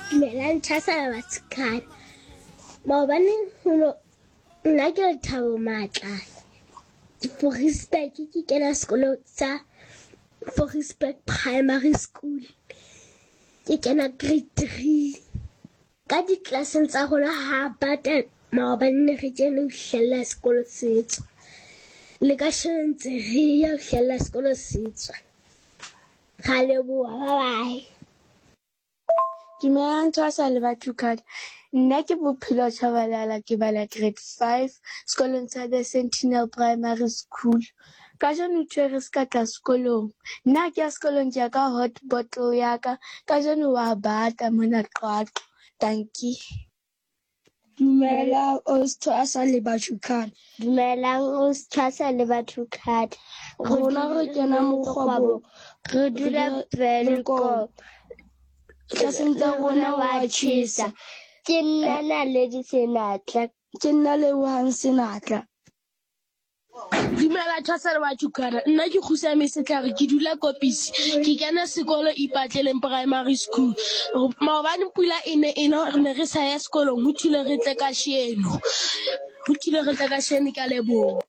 Dumelang Thasela Batshikana. Maobane ho nna ke Lethabo Matla. Forisburg ke kena sekolo sa Forisburg Primary School. Ke kena grade 3. Ka diklaseng tsa rona ha bata maobane ne re kene ho hlella sekolo se tswa. Le ka sheno ntse re ya ho hlella sekolo se tswa. Ra leboha, bye bye. Dumelang Thwasa le Bathukhadi. Nna ke Bophelo Tshabalala ke bala grade 5 sekolong sa The Sentinel Primary School. Kajeno ntho re se ka tla sekolong. Nna ke ya sekolong ke ya ka hot bottle ya ka. Kajeno wa bata mona Qwaqwa. Dankie. Dumelang Osthwasa le Bathukhadi. Dumelang Osthwasa le Bathukhadi. Rona re kena mokgwabong. Re dula Welkom. Tlaseng tsa rona wa tjhesa. Ke nna Naledi Senatla. Ke nna Lebohang Senatla. Dumela Thwasa le Bathukana. Nna ke Kgusame Setlhare, ke dula Kopisi. Ke kena sekolo Ipatleleng Primary School. Maobane pula e ne e na, re ne re sa ya sekolong, ho thule re tle kasheno. Ho thule re tle kasheno, ke a leboha.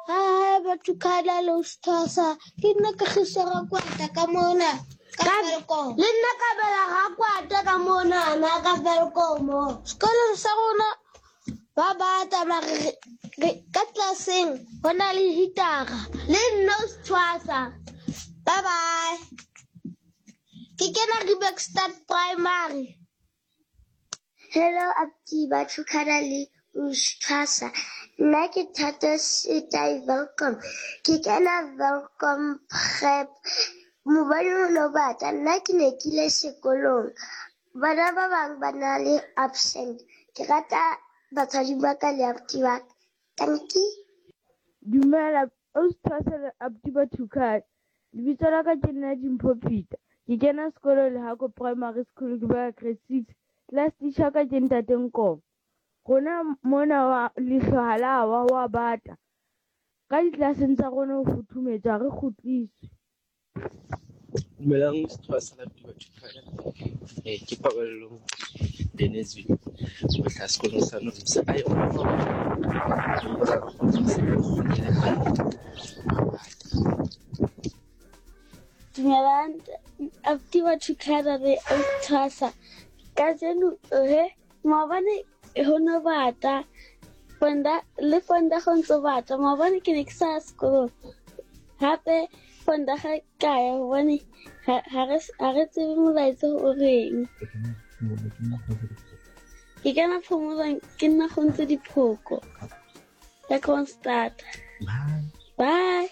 Hi Bathukana le Thwasa. Ke nna Kagiso Rakwata ka mona. Ka Welkom. Le nna Kabela Rakwata ka mona na ka Welkom. Sekolong sa rona ba bata mare ka tlelaseng go na le hitara le nna o tshwasa. Bye bye. Ke kena Riebeeckstad Primary. Hello abuti Bathukana le Usthwasa. Nna ke Thato Setai Welkom. Ke kena Welkom Prep. Mobane o no bata nna ke ne ke ile sekolong. Bana ba bang ba na le absent. Ke rata batswadi ba ka le abuti ba ka. Dankie. Dumela, Ausi Thwasa le abuti ba Thukhane. Lebitso la ka ke nna Dimpho Peter. Ke kena sekolo Lehako Primary School ke bala grade 6. Class teacher wa ka ke Ntate Nkomo. Rona mona wa leihlo ha la wa ho a bata. Ka ditlelaseng tsa rona ho futhumetse ha re kgutliswe. Dumelang setjhaba sa Latuba Thutwana. Ke Paballo Denizwe ho hlaha sekolong sa Nomsa. Ai Dumelang abuti wa Thukana le Thwasa. Kajeno he maobane ho no bata fonda le fonda go ntse bata maobane ke ne ke sa ya sekolong hape fonda ga ka ya gobane ga re tsebe molaetsa o reng ke kana phomolong ke nna go ntse diphoko ya Kroonstad. Bye.